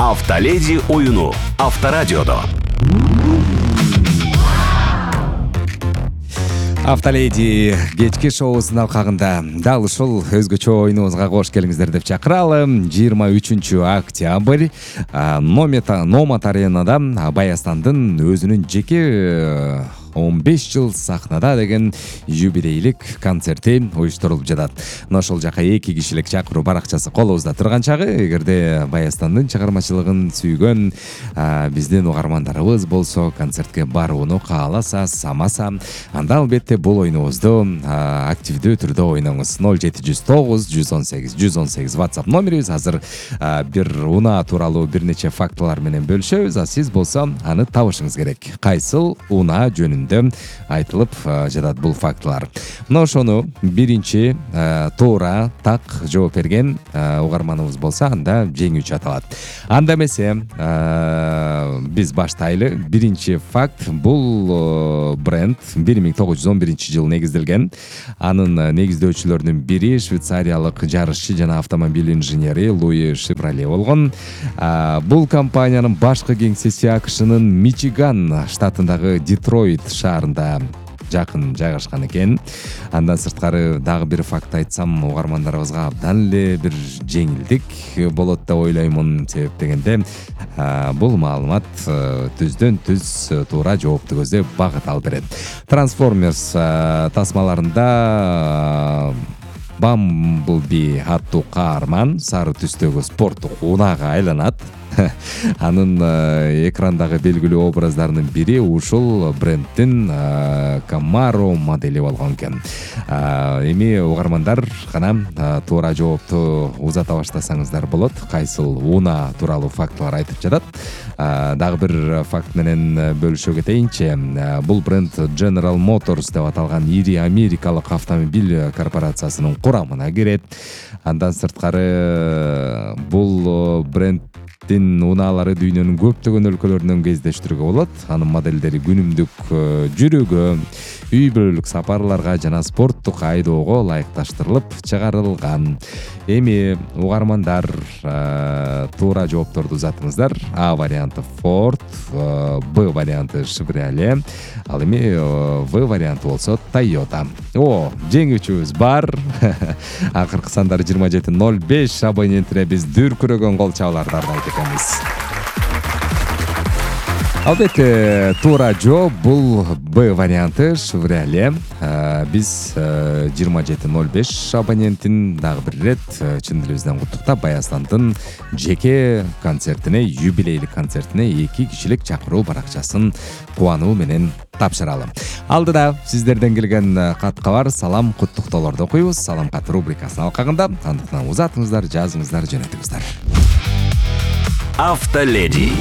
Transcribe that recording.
Автоледи оюну Авторадиодо. Автоледи кечки шоусунун алкагында дал ушул өзгөчө оюнубузга кош келиңиздер деп чакыралы. 23 октябрь Номат аренада Баястандын өзүнүн жеке 15 жыл сахнада деген юбилейлик концерти уюштурулуп жатат. Мына ошол жака 2 кишилик чакыруу баракчасы колубузда турган чагы, эгерде Баястандын чыгармачылыгын сүйгөн биздин угармандарыбыз болсо, концертке барууну кааласа, самаса, анда албетте бул оюнубузду активдүү түрдө ойноңуз. 0709 118 118 WhatsApp номерибиз. Азыр бир унаа тууралуу бир нече фактылар менен бөлүшөбүз. Сиз болсо аны табышыңыз керек. Кайсыл унаа жөнүндө айтылып жатат бул фактылар. Мына ошону биринчи туура так жооп берген угарманыбыз болсо, анда жеңүүчү аталат. Анда эмесе биз баштайлы. Биринчи факт, бул бренд 1911 жылы негизделген. Анын негиздөөчүлөрүнүн бири швейцариялык жарышчы жана автомобиль инженери Луи Шевроле болгон. Бул компаниянын башкы кеңсеси АКШнын Мичиган штатындагы Детройт шаарында жакын жайгашкан экен. Андан сырткары дагы бир факт айтсам, угармандарыбызга абдан эле бир жеңилдик болот деп ойлоймун. Себеп дегенде бул маалымат түздөн түз туура жоопту көздөп багыт алып берет. Transformers тасмаларында Bumblebee аттуу каарман сары түстөгү спорттук унаага айланат. Анын экрандагы белгилүү образдарынын бири ушул бренддин Camaro модели болгон экен. Эми угармандар гана туура жоопту узата баштасаңыздар болот. Кайсыл унаа тууралуу фактылар айтып жатат. Дагы бир факт менен бөлүшө кетейинчи. Бул бренд General Motors деп аталган ири америкалык автомобиль корпорациясынын курамына кирет. Андан сырткары бул бренд унаалары дүйнөнүн көптөгөн өлкөлөрүнөн кездештирүүгө болот. Анын модельдери күнүмдүк жүрүүгө, үй бүлөлүк сапарларга жана спорттук айдоого ылайыкташтырылып чыгарылган. Эми угармандар туура жоопторду узатыңыздар. А варианты Ford, Б варианты Chevrolet, ал эми В варианты болсо Toyota. Жеңүүчүбүз бар. Акыркы сандар 2705 абонентине биз дүркүрөгөн кол чабууларды артайт экенбиз. Албетте, туура жооп бул Б варианты Chevrolet. Биз 2705 абонентин дагы бир ирет чын дилибизден куттуктап Баястандын жеке концертине, юбилейлик концертине 2 кишилик чакыруу баракчасын кубануу менен тапшыралы. Алдыда сиздерден келген катка бар салам куттуктоолорду окуйбуз. Салам кат рубрикасынын алкагында. Андыктан узатыңыздар, жазыңыздар, жөнөтүңүздөр. Автоледи.